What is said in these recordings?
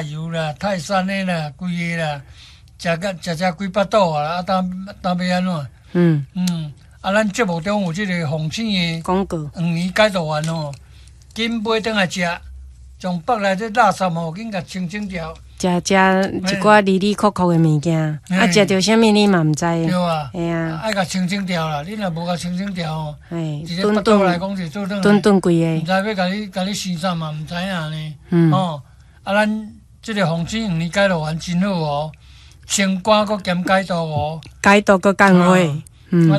油啦、泰山的啦，規个啦，食甲食食規腹肚啊！啊，當欲按怎？嗯，啊，咱節目中有這个鳳星的廣告黃連解毒丸吼，緊買轉來食，將腹內這垃圾吼，緊共清清掉。食食一寡哩哩扣扣的物件，啊，食著啥物你嘛毋知。對啊，嘿啊，愛共清清掉啦，你若無共清清掉吼，一个頓腹肚來講是做轉頓頓規毋个，知欲共你生啥嘛，毋知影呢。吼，啊，咱這个鳳星黃連解毒丸真好哦，清肝閣兼解毒哦，解毒閣降火，啊，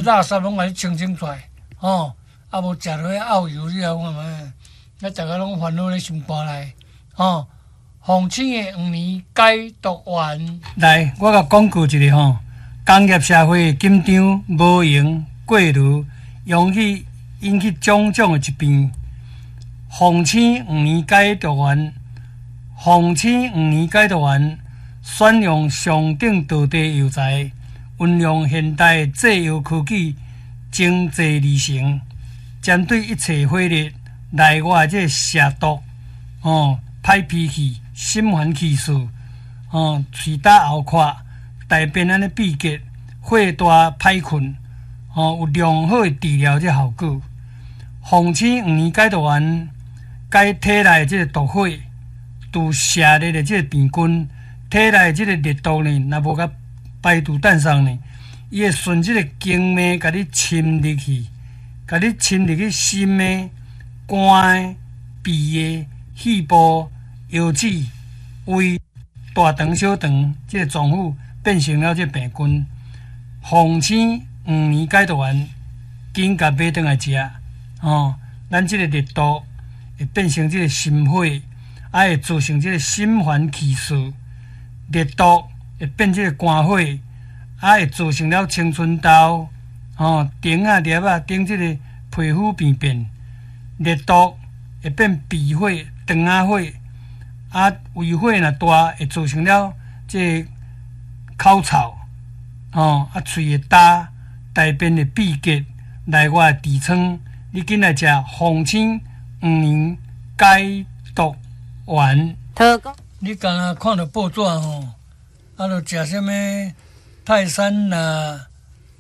垃圾攏共你清清出來，吼，啊無食落去漚油，你來看覓？咱逐个攏煩惱咧心肝內，吼。鳳星的黃連解毒丸，來，我共廣告一下吼。工業社會緊張、無閒、過勞，容易引起種種的疾病。鳳星黃連解毒丸，鳳星黃連解毒丸，選用上等道地藥材，運用現代製藥科技精製而成，針對一切火熱內外這邪毒，吼，歹脾氣、心煩氣躁，吼，喙焦喉渴，大便按呢秘結，火大歹睏，吼，有良好的治療這效果。鳳星黃連解毒丸，解體內這個毒火，除邪熱的這個病菌，體內這個熱毒呢，若無共排除散送呢，伊會順這個經脈共你侵入去，共你侵入去心的、肝的、脾的、肺部、腰子、胃、大腸、小腸這個臟腑變成了這個病菌。鳳星黃連解毒丸，緊共買轉來食，吼，咱這個熱毒會變成這個心火，啊會造成這個心煩氣躁，熱毒會變這個肝火，啊會造成了青春痘，吼，腸仔粒仔頂這個皮膚病變，熱毒會變脾火、腸仔火，啊胃火若大會造成了這個口臭，吼，啊喙會焦，大便會秘結，內外痔瘡，你緊來食鳳星黃連解毒丸。你敢若看著報紙吼，啊，著食啥物泰山啦，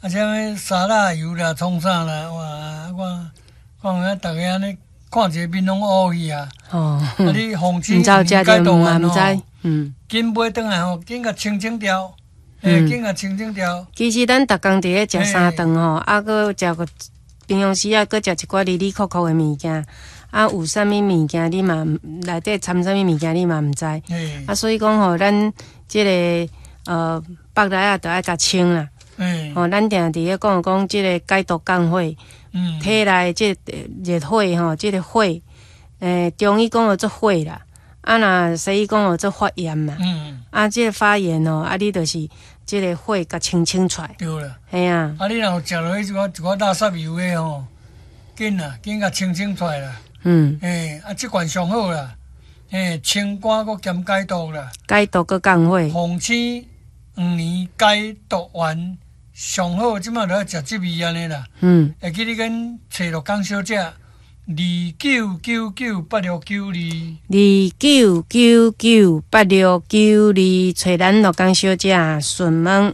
啊，啥物沙拉油啦，創啥啦，哇！我看影逐个按呢看一个面攏烏去啊！啊，你鳳星黃連解毒丸吼，緊買轉來吼，緊共清清掉，緊共清清掉。其實咱逐工佇咧食三頓吼，啊，閣食個平常時啊，閣食一寡哩哩扣扣的物件，啊，有啥物物件你嘛內底摻啥物物件你嘛毋知，啊，所以講吼，咱這个腹內啊，著愛共清啦。吼，咱定佇咧講講這个解毒降火，體內這个熱火吼，這个火，中醫講叫做火啦，啊，若西醫講叫做發炎嘛。啊，這个發炎哦，啊，你就是這个火共清清出來。對啦。嘿啊。啊，你若有食落去一寡一寡垃圾油的吼，緊啦，緊共清清出來啦。啊，這款上好啦，清肝閣兼解毒啦。解毒閣降火。鳳星黃連解毒丸上好，這擺就愛食這味按呢啦。會記你緊揣陸江小姐，29998692。29998692，揣咱陸江小姐詢問。